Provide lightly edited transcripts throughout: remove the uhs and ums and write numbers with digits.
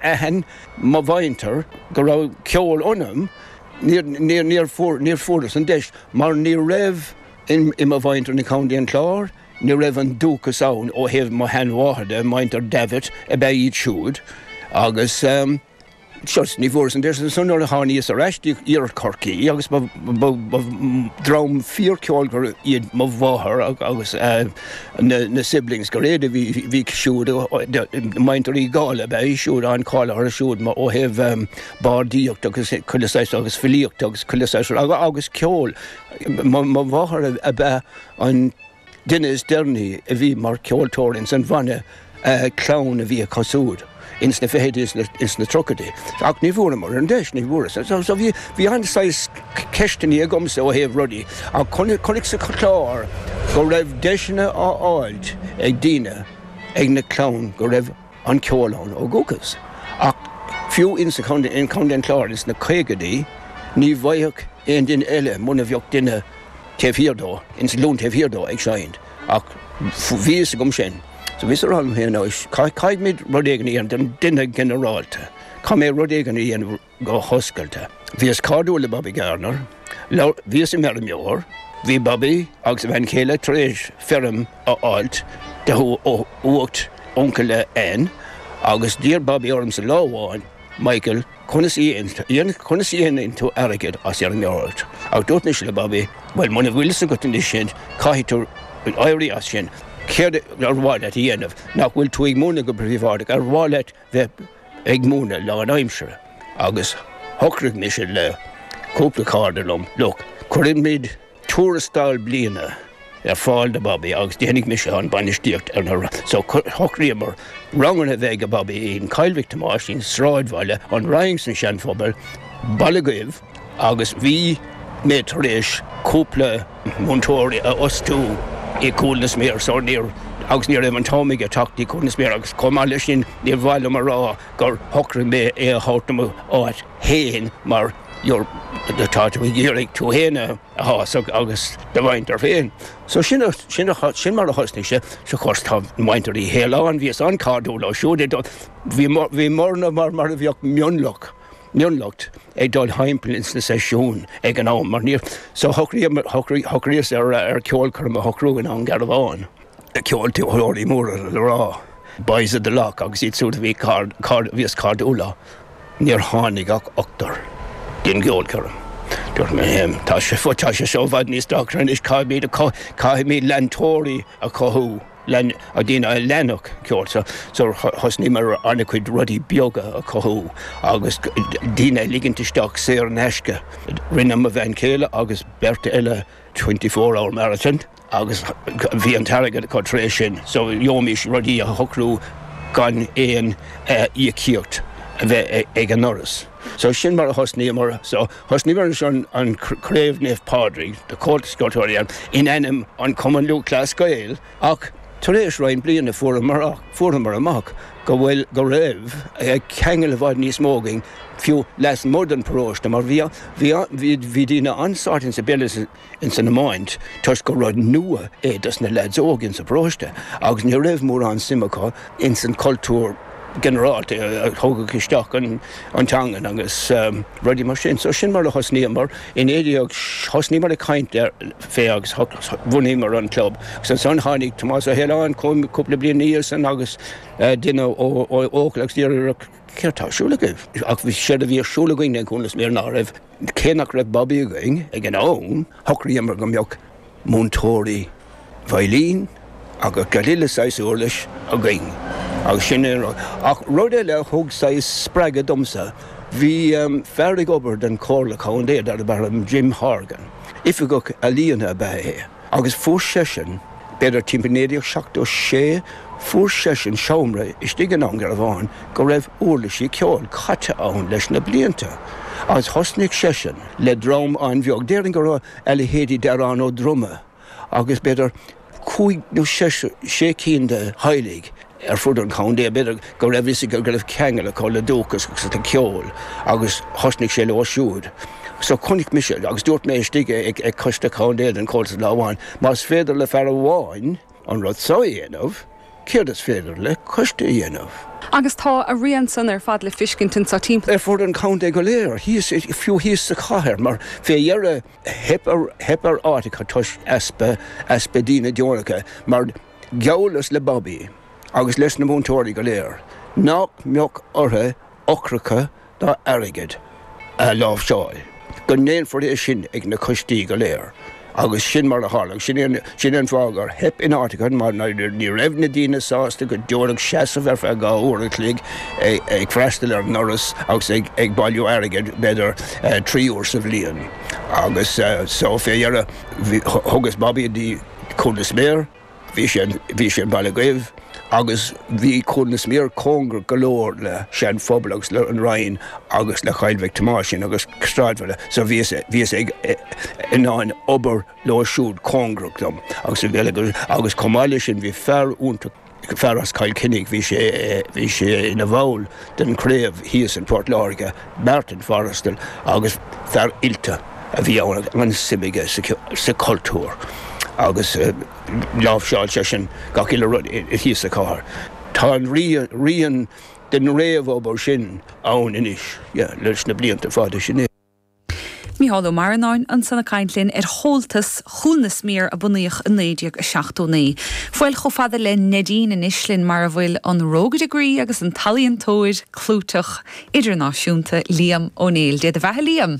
Aithin mo mhuintir go raibh ceol ionam, níor fuaireas an deis mar ní raibh i mo mhuintir i gContae an Chláir, ní raibh an dúchas ann ó thaobh mo sheanmháthar de, muintir Davitt ab ea iad siúd agus. Just, ní bhfuaireas an deis ansan nuair a tháiníos ar ais dtí iarthar Chorcaí agus ba dream fíorcheolmhar iad mo mháthair agus na siblings go léir a bhí siúd, muintir Uí Dhálaigh ab ea í siúd, an-cháil orthu siúd ó thaobh bardaíocht agus chuile saghas agus filíocht agus chuile saghas agus ceol. Mo mháthair ab ea an duine is deireanaí a bhí mar cheoltóir ins an bhanna clann a bhí acu siúd ins na fichidí is ins na tríochaidí. Ach ní bhfuaireamar an deis, ní bhfuaireas. So bhí, bhí an-saghas ceisteannaí agamsa ó thaobh rudaí ach chonac sa Chlár go raibh deiseanna á fháilt ag daoine ag na clann go raibh an ceol ann ó dhúchas. Ach fiú ins an chontae, in Contae an Chláir ins na caogaidí ní bhfaigheadh aon duine eile muna bheadh duine taobh thiar dó, ins an ghlúin taobh thiar dó ag seinnt, ach bhí fhios agam sin. So bhíos ag rá liom féin, anois, caithfimid rud éigin a dhéanamh don duine ginearálta, caithfidh mé rud éigin a dhéanamh go hoscailte. Bhíos cairdiúil le Bobby Gardiner, bhíos im fheirmeoir, bhí Bobby agus a bhean chéile tar éis feirm a fháilt de ó uacht uncail le Ann agus d'iarr Bobby ormsa lá amháin, Michael, Conas a dhéanann tú airgead as fheirmeoireacht? Ach dúirt mise le Bobby, bhuel, muna bhfuil fhios agat anois sin, caithfidh tú éirí as sin. Céard ar mhaith leat a dhéanamh? Nach bhfuil tú ag múineadh go príobháideach? Ar mhaith leat bheith ag múineadh lánaimseartha? Agus shocraigh mise le cúpla cairde liom, look, cuirfimid tuarastal bliana ar fáil do Bobby agus déanfaidh mise an bainistíocht ar na so shocraíomar ranganna a bheith ag Bobby in Coill Mhic Thomáis, in sráidbhaile an Rinn san Seanphobal, Baile Dhuibh agus bhí mé tar éis cúpla múinteoirí a fhostú i gCúil na Sméar so níor agus ní raibh an t-am aige teacht dtí Cúil na Sméar agus chomh maith leis sin níor mhaith liom a rá gur shocraigh mé é a thabhairt do mo áit féin mar you're tá tú ag iarraidh tú féin a shásamh agus do mhuintir féin. So sin sin sin mar a thosnaigh sé. So of course tá muintir Uí Shéaláin, bhíos an-chairdiúil leo siúd. Bhí bhíomarna mar mar a bheadh mionlach mionlucht ag dul thimpeall ins na seisiúin ag an am mar níor so shocraíomar shocraíos ar ar ceolchoirm a shocrú i nDún Garbhán. Ceoltóirí móra le rá, Boys of the Lough agus iad siúd a bhí bhíos cairdiúil leo. Níor tháinig ach ochtar don gceolchoirm. Dúirt mé liom, tá sé tá sé seo i bhfad níos deacra anois, caithfimid caithfimid leantóirí a chothú, lean daoine a leanfadh ceol. So so thosnaíomar an-chuid rudaí beaga a chothú agus daoine a ligint isteach saor in aisce. Rinne mo bhean chéile agus beirt eile 24 hour marathon. agus bhí an t-airgead acu tar éis sin so gheobhaimis rudaí a shocrú gan aon íocaíocht a bheith ag an ndoras. So sin mar a thosnaíomar. So thosnaíomar ansin an Craobh Naomh Pádraig do Chomhaltas Ceoltóirí Éireann in ainm an Cumann Lúthchleas Gael ach tar éis roinnt bliana fuaireamar fuaireamar amach go bhfuil go raibh ceangal i bhfad níos mó againn fiú lasmuigh den paróiste mar bhí bhí bhí daoine an-sáite insa bpeil ins an iomáint toisc gur rud nua é dos na leaids óga ins an bparóiste agus ní raibh mórán suim acu ins an cultúr ginearálta a thugadh isteach an teangain agus rudaí mar sin. So sin mar a thosnaíomar i 19, thosnaíomar ag caint ar fé agus bhunaíomar an club agus ansan tháinig Tomás Ó hAoláin cúpla bliain ina dhiaidh san agus duine ó Eochaill agus d'iarr céard tá ar siúl agaibh? Ach bhí séard a bhí ar siúl againn i gCúil na Sméar ná raibh Cé nach raibh Bobby againn ag an am, shocraíomar go mbeadh múinteoirí veidhlín agus gach uile saghas uirlis againn agus sin é an rud. Ach rud eile a thug saghas spreagadh domsa, bhí fear ag obair don Chomhairle Contae darb ainm Jim Horgan. Oifigeach ealaíona ab ea é. Agus fuair seisean, b'fhéidir timpeall 1976, fuair seisean seomra istigh i nDún Garbhán go raibh uirlisí ceoil caite ann leis na blianta. Agus thosnaigh seisean le dream an-bheag, déarfainn go raibh a leithéidí Darán Ó Droma agus b'fhéidir cúig nó sé cinn de theaghlaigh ar fud an chontae, b'fhéidir go raibh fhios aige go raibh ceangal acu le dúchas agus le ceol agus thosnaigh sé leo siúd. So chonaic mise, agus dúirt mé istigh ag coiste contae den Chomhaltas lá amháin, más féidir le fear amháin an rud so a dhéanamh, céard is féidir le coiste a dhéanamh? Agus tá a rian san ar fad le fiscint anso timpeall. Ar fud an chontae go léir, thíos, fiú thíos sa chathair, mar fé dheireadh theip ar, theip ar áiteacha toisc easpa, easpa daoine deonacha, mar gheallas le Bobby agus leis na múinteoirí go léir nach mbeadh orthu eochracha ná airgead a láimhseáil, go ndéanfar é sin ag na coistí go léir. Agus sin mar a tharla. Agus sin é sin é an fáth gur theip in áiteacha mar ní raibh na daoine sásta go deonach seasamh ar feadh 2 uair an chloig ag freastal ar an ndoras agus ag ag bailiú airgid b'fhéidir 3 uair sa bhliain. Agus so fé dheireadh thugas Bobby dtí Cúil na Sméar. Bhí sé, bhí sé in Baile Dhuibh agus bhí Cúil na Sméar cóngarach go leor le Sean Phobal agus le an Rinn agus le Coill Mhic Thomáis agus sráidbhaile so bhíos, bhíos ag, in ann obair leo siúd cóngarach dom agus agus chomh maith leis sin bhí fear iontach, fear as Cill Chainnigh, bhí sé, bhí sé ina bhall den chraobh thíos in Port Láirge, Martin Forrestal agus fear oilte a bhí ann agus an-suim aige sa chultúr agus láimhseáil seisean gach uile rud thíos sa chathair. Tá an rian den réamhobair sin ann anois leis na blianta fada sin. Mícheál Ó Maranáin ansan ag caint linn ar Chomhaltas Chúil na Sméar a bunaíodh i 1979. Fáil chomh fada le Neidín anois linn mar a bhfuil an rógaire groí agus an t-ealaíontóir clúiteach idirnáisiúnta Liam Ó Néill. Dé do bheatha Liam!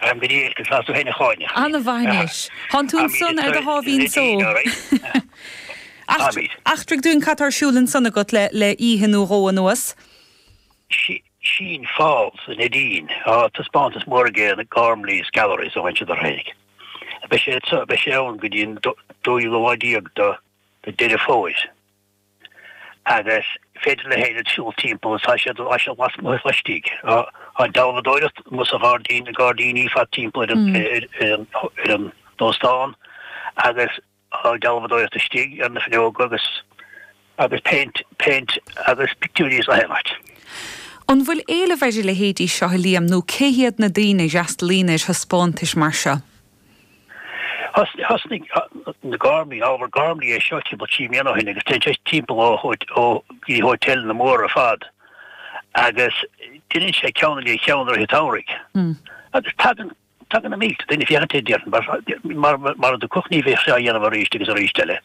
Go diail, conas tá tú féin a Cháine? Ana-mhaith anois. Thánn tú ansan ar do sháimhín só. Eachtraigh dúinn cad tá ar siúl ansan agat le le oíche nó dhó anuas. Sean Falls i Neidín. Tá taispeántas mór aige na Gormley's Galleries ó aimsir Thaidhg. Beidh sé beidh sé ann go dtí an dóú lá déag de Deireadh Fómhair. Agus féidir le héinne siúl timpeall tá sé tá sé lasmuigh is laistigh. Tá dealbhadóireacht amuigh sa ghairdín na gairdíní fad timpeall ar an ar an ar an óstán agus Tá dealbhadóireacht istigh ar na fuinneoga agus agus péint péint agus pictiúirí is achan áit. An bhfuil éileamh ar a leithéidí seo, a Liam, nó cé hiad na daoine a fhreastalaíonn ar thaispeántais mar seo? Thosnaigh na Gormley, Oliver Gormley é seo timpeall 3 mbliana ó shin agus téann sé timpeall ó ó go dtí hótéileanna móra ar fad agus deineann sé ceann i ndiaidh cheann i rith an tsamhraidh agus tagann Tagann na mílte duine féachaint air, déarfainn, mar mara dtiocfadh ní bheadh sé á dhéanamh arís agus arís eile.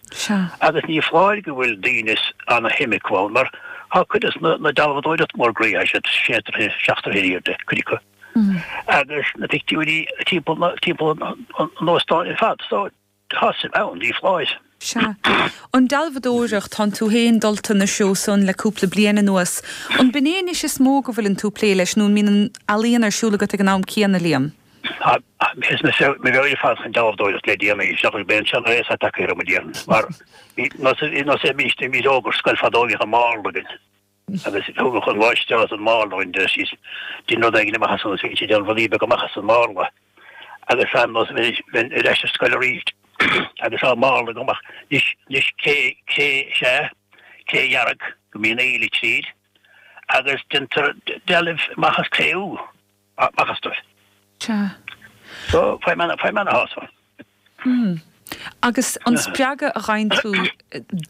Agus ní foláir go bhfuil daoine ana-shuim acu ann, mar tá cuid de na dealbhadóireacht mór groí, tá siad sé troithe, seacht troithe in airde, cuid acu. Agus na pictiúirí timpeall timpeall an óstáin ar fad. So, Tá suim ann, ní foláir. Sea. An dealbhadóireacht, tánn tú féin dulta ina threo san le cúpla bliain anuas. An b'in é anois is mó go bhfuileann tú ag plé leis nó an mbíonn an ealaíon ar siúl agat ag an am céanna, Liam? Tá, is mo mheabhair ar fad chun dealbhadóireacht le déanaí, seachas b'é an seanré is ata acu orm, a déarfainn. Mar bhí, nós é, bhí, bhí óg ar scoil fadó, bhíodh an márla againn. Agus thugadh an mháistreás an márla dúinn, deir sí, dein rud éigin amach as an, bhí siad ag déanamh rudaí beaga amach as an márla. Agus an nós bheinn ar ais ar scoil arís agus á márla agam ach anois, anois cré, cré is ea, cré dhearg go mbíonn aoile tríd agus déantar dealbh amach as cré úr, amach astu. Sea. So, faighim ana, faighim ana shásamh. Mm. Agus an spreagadh a gheibheann tú,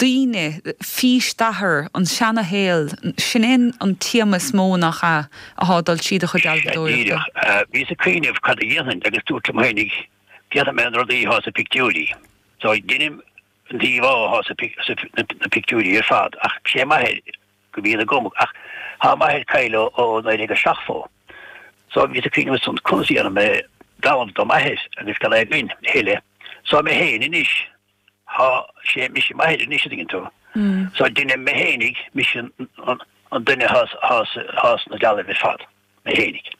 daoine, fís d'athar, an seana-shaol, sin é an téama is mó, nach ea, athá ag dul tríd do chuid Sea, dealbhadóireachta? díreach. Bhíos ag cuimhneamh cad a dhéanfainn agus dúirt liom fhéinig, déanfaidh mé na rudaí athá sa pictiúirí. So, deinim an íomhá athá sa, na pictiúirí ar fad ach sé m'athair go mbíonn agam ach thá m'athair caillte ó 1970 so bhíos ag cuimhneamh ansan conas a dhéanfaidh mé dealbh do m'athair agus gan é againn a thuilleadh so mé féin anois thá sé mise m'athair anois a dtuigeann tú so deinim mé fhéinig mise an duine thá thá sna dealbh ar fad mé fhéinig.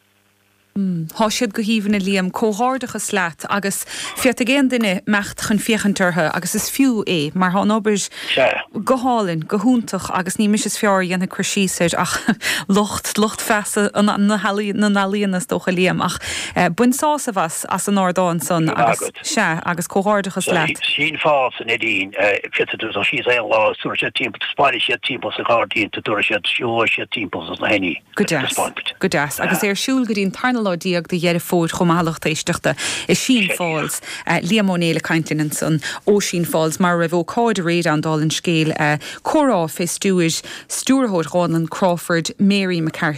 Thá siad go haoibhinn, a Liam. Comhghairdeachas leat agus féadfaidh aon duine imeacht chun féachaint orthu agus is fiú é mar thá an obair go hálainn, go hiontach agus ní mise is fearr a dhéanfaidh cur síos air ach lucht, lucht feasa na n-ealaíona is dócha, Liam. Ach bain sásamh as, as an ardán san agus, sea, agus comhghairdeachas leat. Sean Falls i Neidín, féadfaidh tú dul síos aon lá is tabharfaidh siad timpeall, taispeánfaidh siad timpeall sa ghairdín, tabharfaidh siad, siúlóidh siad timpeall sna henní. Go deas. Go deas. Agus é ar siúl go dtí an tarna. tarna lá déag de Dheireadh Fómhair chomh maith a lucht éisteachta i Sheen Falls. Liam Ó Néill ag caint linn ansan ó Sheen Falls mar a raibh ócáid aréir ann dála an scéil, comhrá fé stiúir stiúrthóir Dhánlann Crawford, Mary McCarthy.